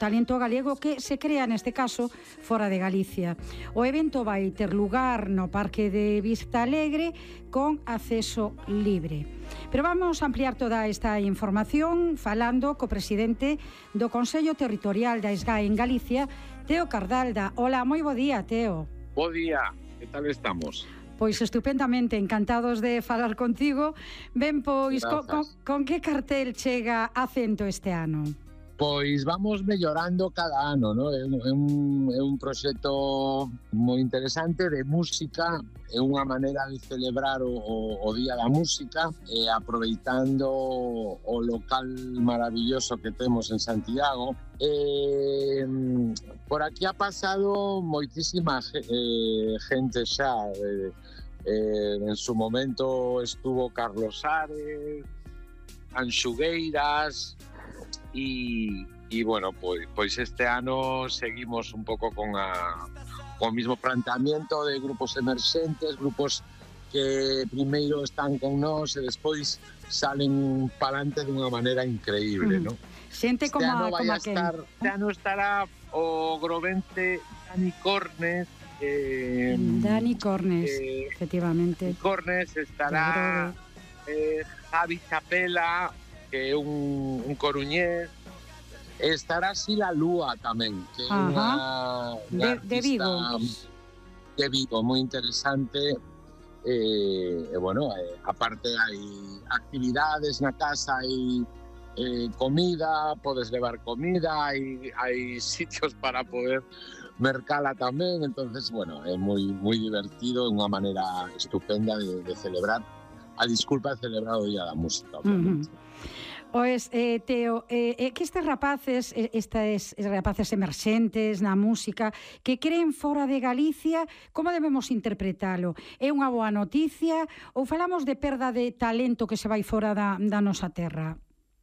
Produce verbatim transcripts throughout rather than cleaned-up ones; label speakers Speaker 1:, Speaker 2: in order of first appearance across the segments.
Speaker 1: talento galego que se crea neste caso fora de Galicia. O evento vai ter lugar no Parque de Vista Alegre con acceso libre. Pero vamos a ampliar toda esta información falando co presidente do Consello Territorial da SGAE en Galicia, Teo Cardalda. Hola, moi bo día, Teo.
Speaker 2: Bo día, que tal estamos?
Speaker 1: Pois estupendamente, encantados de falar contigo. Ben, pois, con, con, con que cartel chega Acento este ano?
Speaker 2: Pois vamos mellorando cada ano, ¿no? É un, é un, é un proxecto moi interesante de música, é unha maneira de celebrar o, o, o Día da Música, e aproveitando o local maravilloso que temos en Santiago. Eh, por aquí ha pasado moitísima eh, gente xa. Eh, eh, en su momento estuvo Carlos Ares, Anxugueiras, y, y bueno, pois, pois este ano seguimos un pouco con, a, con o mismo planteamiento de grupos emerxentes, grupos que primeiro están con nós e despois salen palante dunha maneira increíble, mm. ¿no?
Speaker 1: Xente
Speaker 2: este
Speaker 1: como
Speaker 2: ano
Speaker 1: a,
Speaker 2: vai
Speaker 1: como
Speaker 2: a estar, que... Este ano estará o grovense Dani Cornes. Eh,
Speaker 1: Dani Cornes,
Speaker 2: eh,
Speaker 1: efectivamente.
Speaker 2: Cornes estará eh, Javi Chapela, que é un, un coruñés. Estará Sila Lúa tamén, que é unha, unha
Speaker 1: de, de Vigo.
Speaker 2: De Vigo, moi interesante. Eh, e, bueno, eh, aparte hai actividades na casa, hai eh, comida, podes levar comida, hai, hai sitios para poder mercala tamén, entonces, bueno, é moi moi divertido, é unha maneira estupenda de, de celebrar a disculpa de celebrar o Día da Música, obviamente. Uh-huh.
Speaker 1: Pois, eh, Teo, eh, que estes rapaces, estes rapaces emerxentes na música, que creen fora de Galicia, como debemos interpretalo? É unha boa noticia ou falamos de perda de talento que se vai fora da, da nosa terra?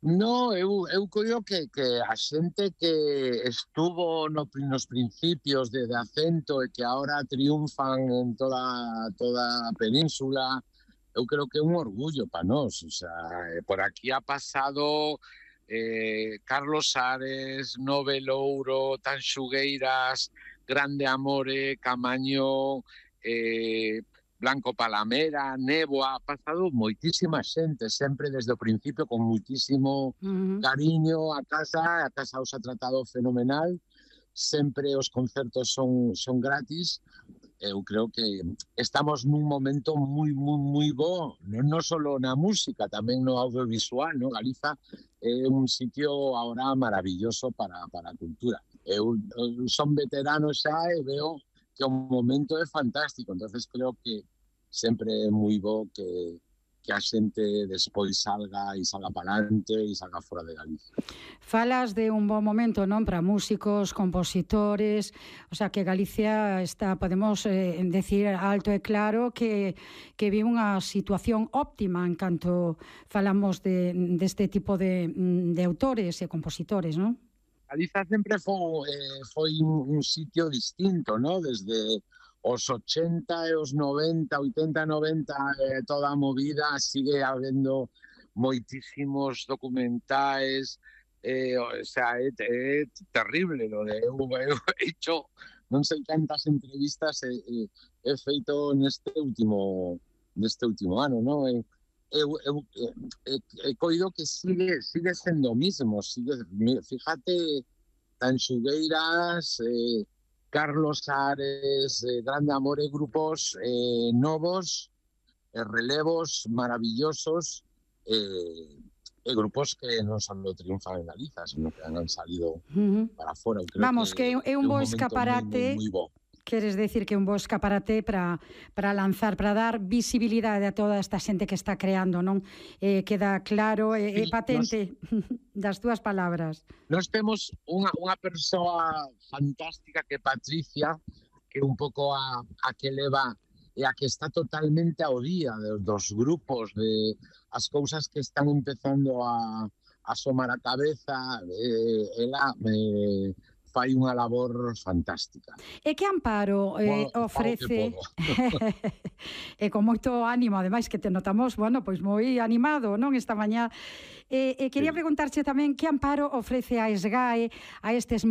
Speaker 2: No, eu, eu creo que, que a xente que estuvo no, nos principios de, de Acento e que ahora triunfan en toda, toda a península, eu creo que é un orgullo para nós. O sea, por aquí ha pasado eh, Carlos Ares, Nove Louro, Tanxugueiras, Grande Amore, Camaño, eh, Blanco Palamera, Néboa, ha pasado moitísima xente, sempre desde o principio con moitísimo uh-huh. cariño a casa, a casa os ha tratado fenomenal, sempre os concertos son, son gratis. Eu creo que estamos nun momento moi, moi, moi bo, non, non só na música, tamén no audiovisual, no? Galiza é un sitio ahora maravilloso para, para a cultura. Eu, eu son veterano xa e veo que o momento é fantástico, entonces creo que sempre é moi bo que, que a xente despois salga e salga para adelante e salga fora de Galicia.
Speaker 1: Falas de un bon momento, non, para músicos, compositores, o sea, que Galicia está, podemos eh, decir alto e claro que, que vive unha situación óptima en canto falamos de, deste tipo de, de autores e compositores, non?
Speaker 2: Galiza sempre foi, eh, foi un, un sitio distinto, ¿no? Desde os ochenta e os noventa, oitenta, noventa, eh, toda a movida, sigue habendo moitísimos documentais, eh, o sea, é, é terrible lo de eu, eu he hecho non sei cantas entrevistas he, he, he feito neste último neste último ano, ¿no? Eu, eu, eu he, he coido que sigue sigue sendo o mismo, sigue, fíjate, Tanxugueiras, eh, Carlos Ares, eh, Grande Amore, grupos eh, novos, eh, relevos maravillosos, eh, e grupos que non solo triunfan en Galiza, sino que han salido uh-huh. para fora.
Speaker 1: Vamos, que, que é un bo escaparate, moi, moi, moi bo. Queres decir que é un bo escaparate para, para lanzar, para dar visibilidade a toda esta xente que está creando, non? Eh, queda claro, é eh, eh, patente nos, das túas palabras.
Speaker 2: Nós temos unha, unha persoa fantástica que é Patricia, que é un pouco a, a que leva e a que está totalmente ao día de, dos grupos, de as cousas que están empezando a, a asomar a cabeza. Eh, ela eh, fai unha labor fantástica.
Speaker 1: E que amparo eh,
Speaker 2: Bueno,
Speaker 1: ofrece
Speaker 2: que
Speaker 1: e con moito ánimo, ademais que te notamos, bueno, pois moi animado, non, esta mañá. E, e quería
Speaker 2: Sí.
Speaker 1: preguntarche tamén que amparo ofrece a SGAE a estes